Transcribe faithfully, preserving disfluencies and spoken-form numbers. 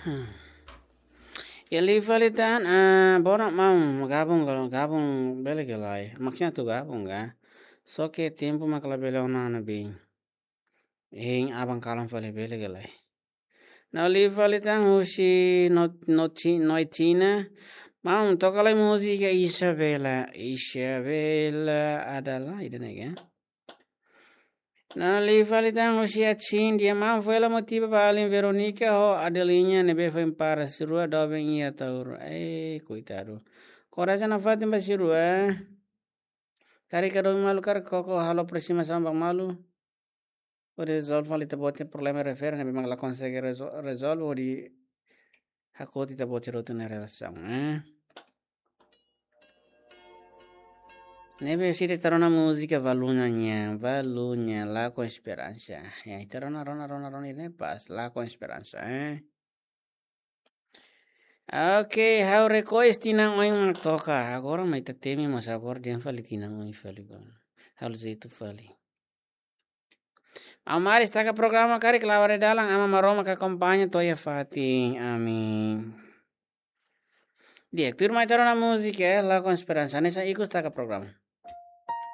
Iha liu fali tan, ah, bona maun, gabung, gabung bele ka lae. Maksudnya atu gabung ka. Só ke tempu mak labele ona ne'ebé. Hein aban kalan fali bele ka lae. Iha liu fali tan husi no, no, Noitina. Maun, toka lai múzika Isabela. Isabela adalah, ida-ne'e ka. Iha liu fali tan husi Atsin, dia maun, foin hela motiva ba alin Veronica ho Adelinha ne'ebé foin para, sira rua doben iha Taura. Eh, koitadu. Korasaun nafatin ba sira rua. Karik ka doben malu, karik koko halo aproximasaun ba malu. Hodi rezolve fali ita-boot nia problema refere ne'ebé mak la konsege rezo-, rezolve hodi hakoti ita-boot nia rotina relasaun, eh. Ne'ebé sira ita rona múzika Valunya nian, Valunya, La com Esperança. Ya, ita rona, rona, rona, rona, ne'e pas, La com Esperança, eh. Oke, ha'u request tinan oin mak toka. Agora mak ita temi, mas agora dehan fali tinan oin fali ba. Halo jeitu fali. Amar destaka programa karik la'o ba dalan, Aman Maromak akompaña to'o iha fatin. Amin. Di'ak, tuirmai ita rona múzika, eh, La com Esperança. Hanesan ikus destaka programa.